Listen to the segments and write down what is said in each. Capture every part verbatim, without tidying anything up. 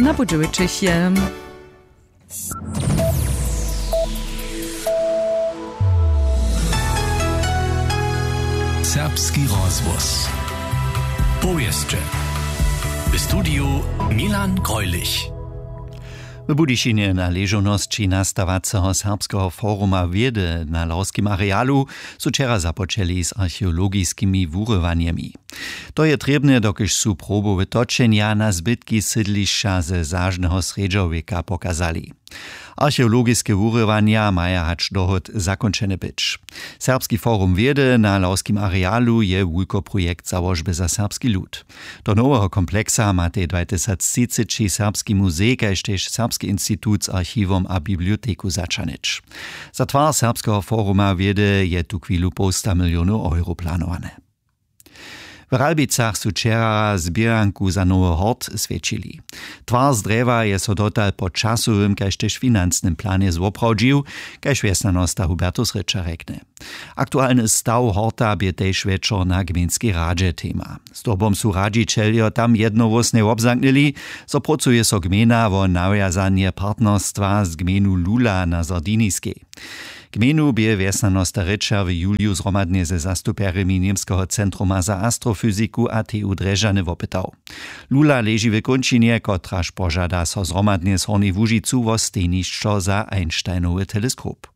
Na budźewičich je. Serbski rozhłos. Powěsće. W studiju Milan Greulich. W Budyšinje na ležownosći nastawaceho Serbskeho foruma wědy na lawskim arealu su wčera započeli z archeologiskimi wurywanjemi. To je trěbne, dokelž su probowe točenja na zbytki sydlišća ze zažneho srjedźowjeka pokazali. Archeologiske wurywanja maja hač dohod zakónčene być. Serbski forum wědy na lawskim arealu je wulkoprojekt załožby za serbski lud. Do noweho kompleksa matej dwatysactřiceći serbski muzej kaž tež serbski institut z archiwom a biblioteku zaćahnyć. Za twar serbskeho foruma wědy je tuchwilu połsta milionow euro planowane. W Ralbicach su wčera zběranku za nowy hort swjećili. Twar z drjewa je so dotal po časowym kaž tež financnym planje zwoprawdźił, kaž wjesnjanosta Hubertus Rěča rjekny. Aktualny staw horta bě tež wječor na gmejnskej radźe tema. Zdobom su radźićeljo tam jednohłósnje wobzamknyli, zo prócuje so gmejna wo nawjazanje partnerstwa z gmejnu Lula na Sardiniskej. Gmejnu bě wjesnjanosta Rěča w juliju zhromadnje ze zastupjerjemi Němskeho centruma za astrofyziku a T U Drježdźany wopytał. Lula leži w kónčinje, kotraž požada so zhromadnje z Hornjej Łužicu wo stejnišćo za Einsteinowy teleskop.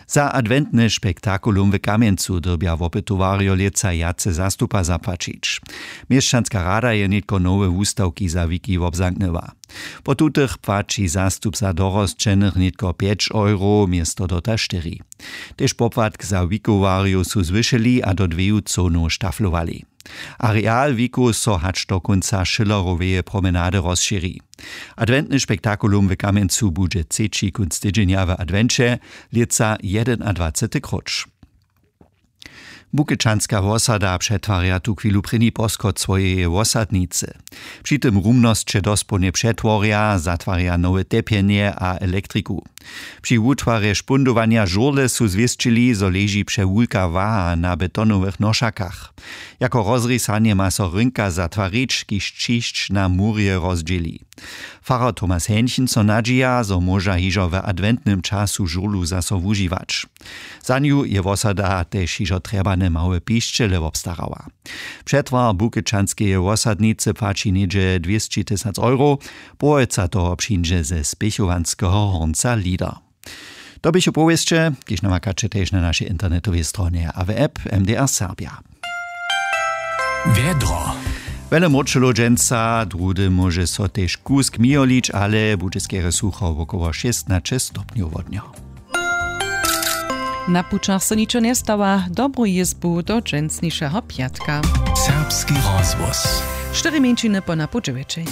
Za adwentny spektakulum w Kamjencu dyrbja wopytowarjo lětsa wjace zastupa zapłaćić. Měšćanska rada je nětko nowe wustawki za wiki wobzamknyła. Po tutych płaći zastup za dorosćenych nětko pjeć euro město dotal štyri. Tež popłatk za wikowarjow su zwyšyli a do dweju cołnow štaflowali. Areal wikow so hač do kónca schilleroweje promenady rozšěri. Adwentny spektakulum w Kamjencu budźe třeći kónc tydźenja w adwenće, lětsa jedynadwacety króć. Bukečanska wosada přetwarja tuchwilu prěni poschod swojeje wosadnicy. Při tym rumnosće dospołnje přetworja, zatwarja nowe tepjenje a elektriku. Při wutwarje špundowanja žurle su zwěsćili, zo leži přewulka waha na betonowych nošakach. Jako rozrisanje ma so rynka zatwarić, kiž ćišć na murje rozdźěli. Farar Thomas Henchen so nadźija, zo móža hižo w adwentnym času žurlu zaso wužiwać. Za nju je wosada tež hižo trjebane małe pišćele wobstarała. Přetwar bukečanskeje wosadnicy płaći něhdźe dwěsći tysac euro. Połojca toho přińdźe ze spěchowanskeho hornca Lieder. To běchu powěsće, kiž namakaće tež na našej internetowej stronje a w app M D R Serbja. Wjedro. Wjele mróčelow dźensa, druhdy móže so tež kusk mijolić, ale budźe skerje sucho, wokoło šěstnaće stopnjow wodnjo. Na pućach so ničo njestawa, dobru jězbu do dźensnišeho pjatka. Serbski rozhłos. Štyri mjeńšiny po napoł dźewjećich.